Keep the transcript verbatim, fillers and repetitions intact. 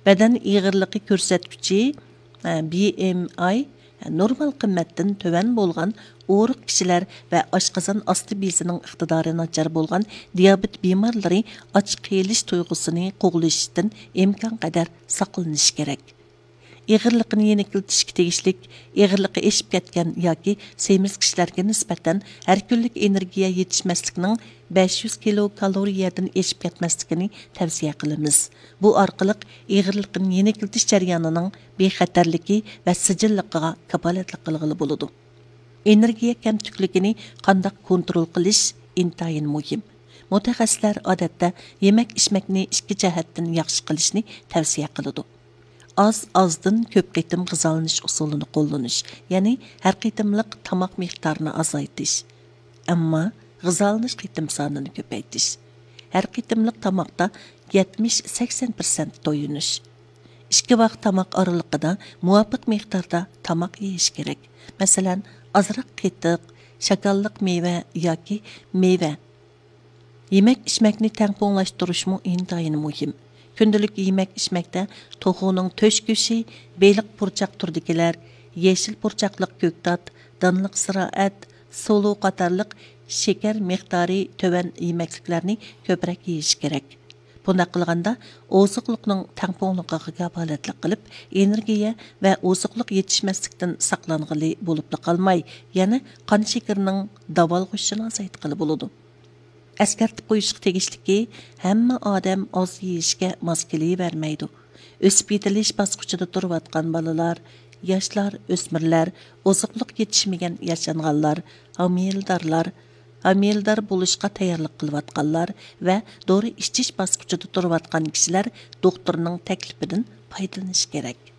بەدەن ئېغىرلىقى كۆرسەتكۈچى، بى ئېم ئاي، نورمال قىممەتتىن تۆۋەن بولغان ئورۇق كىشىلەر ۋە ئاشقازان ئاستى بېزىنىڭ ئىقتىدارى ناچار بولغان دىيابېت بىمارلىرى ئاچ قېلىش تۇيغۇسىنى قوغلىشىشتىن ئىمكانقەدەر ساقلىنىشى كېرەك. ئېغىرلىقىنى يېنىكلىتىشكە تېگىشلىك، ئېغىرلىقى ئېشىپ كەتكەن ياكى سېمىز كىشىلەرگە نىسبەتەن ھەر كۈنلۈك ئېنېرگىيە يېتىشمەسلىكنىڭ بەش يۈز كىلوكالورىيەدىن ئېشىپ كەتمەسلىكىنى تەۋسىيە قىلىمىز. بۇ ئارقىلىق ئېغىرلىقىنى يېنىكلىتىش جەريانىنىڭ بىخەتەرلىكى ۋە سىجىللىقىغا كاپالەتلىك قىلغىلى بولىدۇ. ئېنېرگىيە كەمتۈكلۈكىنى قانداق كونترول قىلىش ئىنتايىن مۇھىم. مۇتەخەسسىسلەر ئادەتتە يېمەك-ئىچمەكنى ئىككى جەھەتتىن ياخشى قىلىشنى تەۋسىيە قىلىدۇ. ئاز-ئازدىن كۆپ قېتىم غىزالىنىش ئۇسۇلىنى قوللىنىش، يەنى ھەر قېتىملىق تاماق مىقدارىنى ئازايتىش، ئەمما غىزالىنىش قېتىم سانىنى كۆپەيتىش، ھەر قېتىملىق تاماقتا يەتمىش سەكسەن پىرسەنت تويۇنۇش، ئىككى ۋاق تاماق ئارىلىقىدا مۇۋاپىق مىقداردا تاماق يېيىش كېرەك. مەسىلەن، ئازراق قېتىق، شاكاللىق مېۋە ياكى مېۋە، يېمەك-ئىچمەكنى تەڭپۇڭلاشتۇرۇشمۇ ئىنتايىن مۇھىم. كۈندىلىك يېمەك-ئىچمەكتە توخۇنىڭ تۆشۈكى، بېلىق پۇرچاق تۈرىدىكىلەر، يېشىل پۇرچاقلىق كۆكتات، دانلىق زىرائەت، سۇلۇ قاتارلىق شېكەر مىقدارى تۆۋەن يېمەكلىكلەرنى كۆپرەك يېيىش كېرەك. بۇنداق قىلغاندا، ئوزۇقلۇقنىڭ تەڭپۇڭلۇقىغا كاپالەتلىك قىلىپ، ئېنېرگىيە ۋە ئوزۇقلۇق يېتىشمەسلىكتىن ساقلانغىلى بولۇپلا قالماي، يەنە قان شېكىرىنىڭ داۋالغۇشىنى ئازايتقىلى بولىدۇ. ئەسكەرتىپ قويۇشقا تېگىشلىكى، ھەممە ئادەم ئاز يېيىشكە ماس كېلىۋەرمەيدۇ. ئۆسۈپ يېتىلىش باسقۇچىدا تۇرۇۋاتقان بالىلار، ياشلار، ئۆسمۈرلەر، ئوزۇقلۇق يېتىشمىگەن ياشانغانلار، ھامىلىدارلار، ھامىلىدار بولۇشقا تەييارلىق قىلىۋاتقانلار ۋە دورا ئىچىش باسقۇچىدا تۇرۇۋاتقان كىشىلەر دوختۇرنىڭ تەكلىپىدىن پايدىلىنىشى كېرەك.